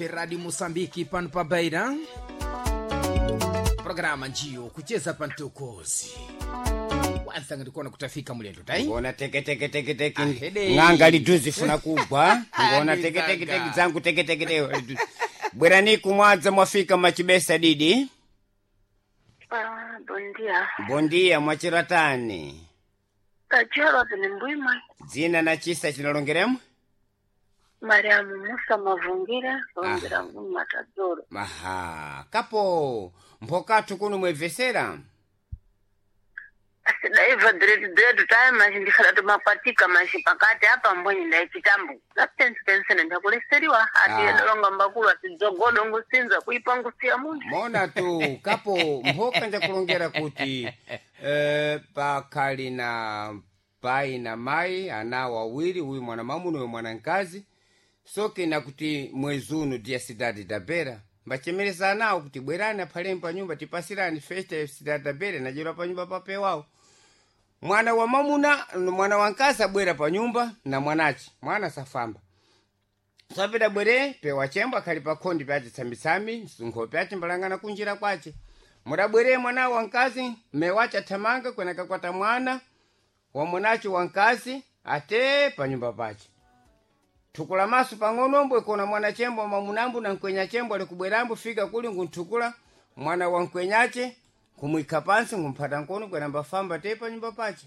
RMF Radio Moçambique pano pa Beira. Programa njiyo kucheza pantokozi. Kwanza ngikuona kutafika mulendo tai. Ngona teke teke teke teke Ahede. ng'anga liduzi funa kugwa ngona Adi teke teke teke zanga. zangu teke teke teke bwerani kumwadza mwafika machibesa didi. Ah, bom dia. Bondia mwachiratani. Kachero ni mbwima. Dzina na chisa chinalongeremo. Mariamu Musa Mavungira, longira Matadoro. Maha kapo mphokathu kuno mwebvesera. Asidaiva diretu diretu tayi machi ndikhala tumapatika machi pakati apa mbwenyi ndaichitambo. Ngapensi pensene ndakuleseriwa ati Ah. yadolonga mbakulu ati dzogodo ngusinza kuipa ngusiya munthu. Mona tu kapo mphoka njakulongera kuti pakhali na pai na mai ana wawiri, uyu mwana mamuna uyu mwana mkazi. Soke kuti mwezi uno dia cidade da Beira mbachemeresa anawo kuti bwerani aphaleni pa nyumba tipasirani festa ya cidade da Beira najerwa pa nyumba papewawo. Mwana wa mamuna mwana wa mkazi abwera pa nyumba na mwanache mwana safamba sapita bwere pewa chembo akhali pa khondi pace tsambitsami msunkho pace mbalangana kunjira kwace. Mudabwere mwana wa mkazi mmewace athamanga kwena kakwata mwana wa mwanace wa mkazi ate pa nyumba pace. Thukula maso pang'onombo ikona mwana chembo mamunambu na mkwenya chembo ali kubwerambo fika kuli ngunthukula mwana wa mkwenyace kumwikha pansi ngumphata nkono kwena mbafamba te pa nyumba pace.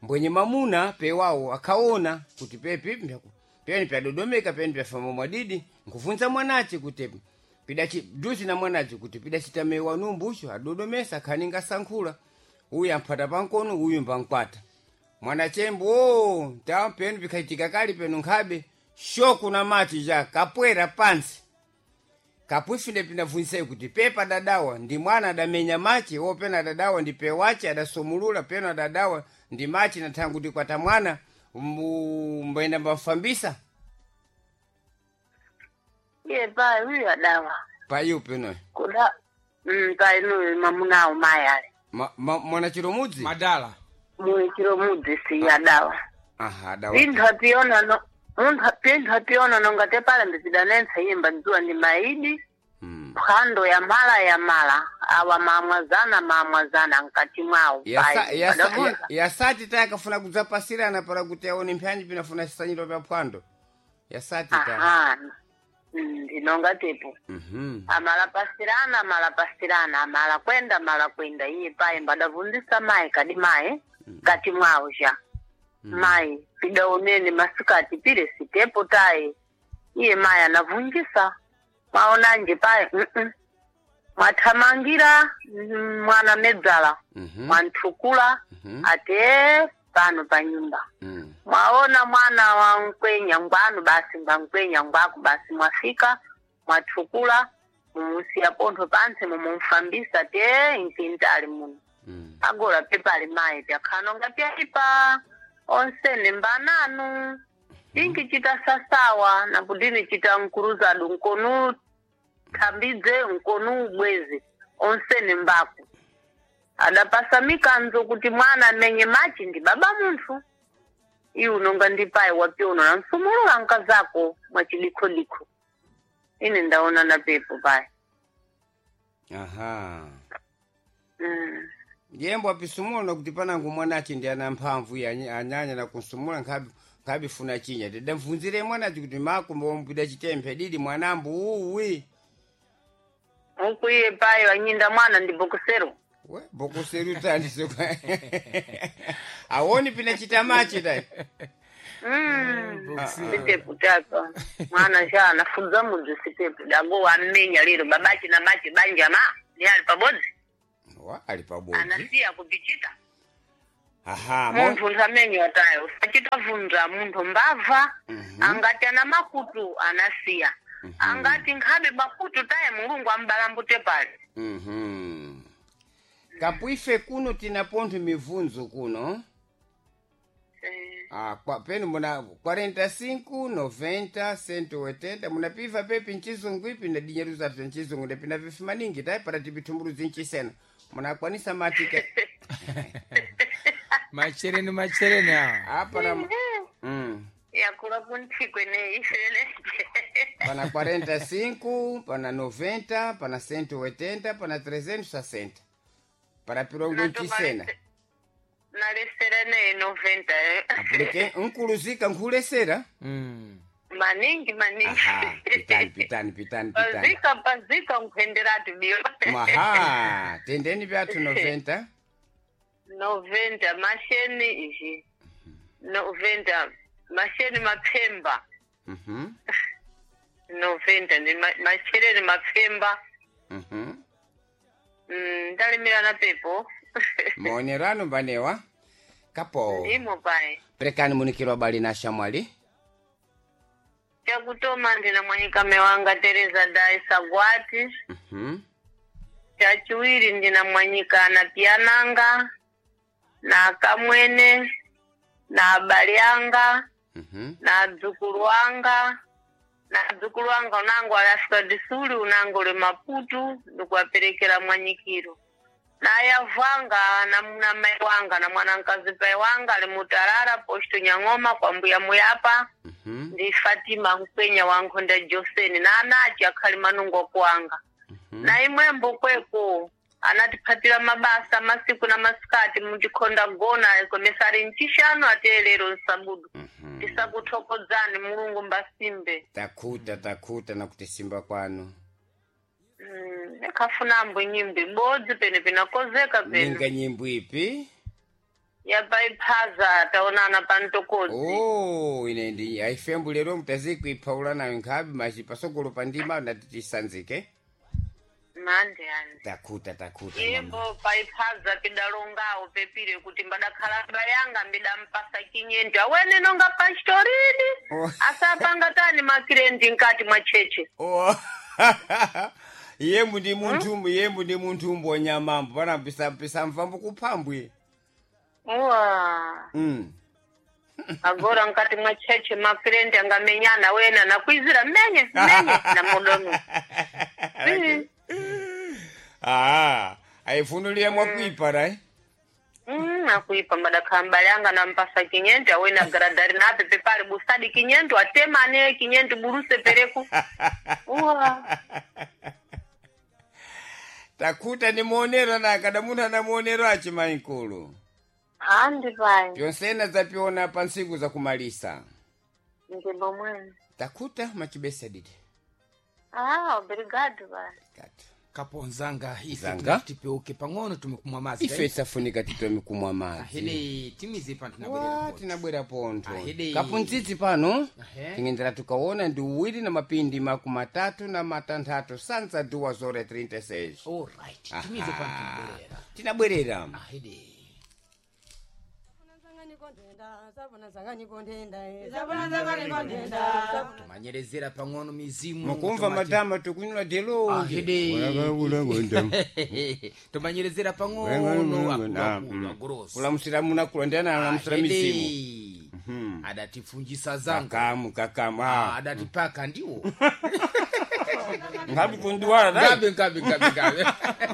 Mbwenye mamuna pewawo akhaona kuti pepi peni pyadodomeka peni pyafamba mwadidi nkuvunza mwanace kuti pidachi duzi na mwanace kuti pidachitamewa numbucho adodomesa akhaninga sankhula uyu amphata pankono uyu mbankwata mwanachembo o ta penu pikhachitika kali penu nkhabe shoku na mati ja kapwera pansi. Kapwifine pinavunzisai kuti pepa dadawa ndi mwana adamenya machi wopena adadawa ndi pewache adasomulula peno adadawa ndi machi na thangu kuti kwata mwana mbayenda mbafambisa. Iye payi uyu adawa. Payu peno. Kuda payi nuyu mamunawo mayi ali. Mwana chiromudzi. Madala. Muyu chiromudzi si adawa. Aha adawa. Vinthu apiona no munthu pinthu apiona nonga tepala ndizidanentsa iye mbadziwa ndi maidi. Phwando ya mala ya mala awa mamwazana mamwazana mkati mwawo. Payi, padavunza. Yasati tayakafuna kudzapasirana para kuti aone mphanyi pinafuna sisanyiro pya phwando yasati ta. Aha. Ndinonga tepo amalapasirana amalapasirana amala kwenda amala kwenda iye payi mbadavunzisa mayi kadi mayi kati mwawo ja mayi pidaonene masikati pile sitepo tayi iye mayi anavunjisa mwaonanje payi mwathamangira mwana medzala. Mwanthukula ate pano pa nyumba. Mwaona mwana wa mkwenya ngwanu basi ngwa mkwenya ngwaku basi mwafika mwathukula mumusiya pontho pantsi mumumfambisa te mkintali muno. Agora pepali mayi pyakhanonga pyaipa onsene mbananu tinkichita sasawa nakutini chita mkuruzadu nkonu thambidze nkonu ubwezi onsene mbaku adapasa mikanzo kuti mwana amenye machi ndi baba munthu iwe unonga ndi payi wapiuno na msumulula nkazako mwachidikhodikho ine ndaona na pepo payi. Aha yembo apisumula nakuti panangu mwanache ndi ana mphamvu iye anyanya na kunsumula nkhabi nkhabifuna chinya tidamvunzire mwanache kuti makumba wampida chitemphe didi mwanambu uwi. Uku iye payi wanyinda mwana ndi bokusero. We bokuseru tandise awoni pina chitamachi tayi. Sitepu tapa mwana sha anafudza mudzi sitepu dago wammenya lero babachi na machi banja ma ni ali pabodzi. Wa ali pabodzi. Anasiya kupichita. Aha munthu nthamenya tayo usachita vunza munthu mbava. Angati ana makutu anasiya angati nkhabe makutu taye mulungu ambalambute pale. Kapuife kuno tinapontho mivunzo kuno. Ah, kwa, penu muna 45 90 180 munapiva pepi nchizungu ipi na dinyeruza vya nchizungu ndapina vifi maningi tayi para tipitumbuluzi nchisena munakwanisa matika. Machereni machereni awa. Apa na Yakula kunthikwe ne ifene. Pana 45, pana 90, pana 180, pana 360. Para pirongo nchisena. Nalesera ne 90 eh. Apulike nkuluzika nkhulesera. Maningi maningi. Aha, pitani pitani pitani pitani. Pazika pazika nkuenderatu biyo. Maha, tendeni vyathu 90. 90 masheni izhi. 90 masheni mapemba. Mhm. 90 ni masheleni mapemba. Mhm. Ndalimira na pepo. Maonerano mbanewa. Kapo. Ndimo pai. Perekani munikiro bali na shamwali. Chakutoma ndina mwanyikame wanga Teresa Dai Sagwati. Mhm. Chachiwiri ndina mwanyika na piananga na kamwene na abali anga Mhm. na dzukulu wanga na dzukulu wanga unango ali Afrika disuli unango uli Maputo ndikuwaperekera mwanyikiro na yavanga na na mai wanga na mwanankazi pai wanga ali mutarara posto Nyang'oma kwa mbuya muyapa. Mhm. Ndi Fatima Nkwenya wa Nkhonda Joseni na anachi akhali manungo kuanga na imwembo kweko anatiphatira mabasa masiku na masikati mutikhonda gona komesari ncixano ate lero nsabudu. Mhm. Tisakuthokozani Mulungu mbasimbe. Takhuta takhuta na kutisimba kwanu. Ekhafunambo nyimbo ibodzi pene pinakozeka pene. Ninga nyimbo ipi? Yapaiphaza taonana pa mtokodzi. Oh, ine ndi aifembu lero mutazikuiphaula nayo nkhabe machi pasogolo pandima ndati tisanzike. Mande ani Takhuta takhuta. Mama. Yimbo paiphaza pidalongawo pepire kuti mbadakhala bayanga mbidampasa kinyendo awene nonga pastorini. Oh. Asapanga tani makirendi nkati mwa cheche. Oh. Yembu ndi munthu yembu ndi munthu mbonya mambo pana pisa pisa mvambo kuphambwe. Uwa agora nkati mwa cheche makirendi angamenyana wena nakwizira menye menye na mudomo. Ah, aifunulia mwakuipa rai. Akuipa mbadakhala mbale anga nampasa kinyendo awene agaradari nape pepali busadi kinyendo atemane kinyendo buruse pereku. Uwa. Takhuta ni muonero na kada munthu ana muonero achi mainkulu. Andi pai. Pyonsena zapiona pa ntsiku zakumalisa. Ndimbo mwene. Takhuta machibesa didi. Ah, obrigado pai. Katu. Kapo nzanga ife Nzanga? tinatipeuke pang'ono tumekumwa madzi. Ife safunika titome kumwa madzi. Ahede timize pano tinabwerera Wa, poti. tinabwera pontho. Ahede. Kapuntsitsi pano Ahe. tingendera tukaona ndi uwiri na mapindi makumatatu na matanthatu sanza 2:36. Alright, timize pano tinabwerera. Tinabwerera. Ahede. Tumanyerezera pang'ono mizimu. Mukumva matama tukunywa delo. Ahede. Tumanyerezera pang'ono akuluakulu agorosi. Kulamusira munakulondana alamusira mizimu. Ahede. Adatifunjisa zanga. Kakamu kakamu. Ah. Adatipaka ndiwo. Ngabi kunduwala dai. Ngabe ngabe ngabe ngabe.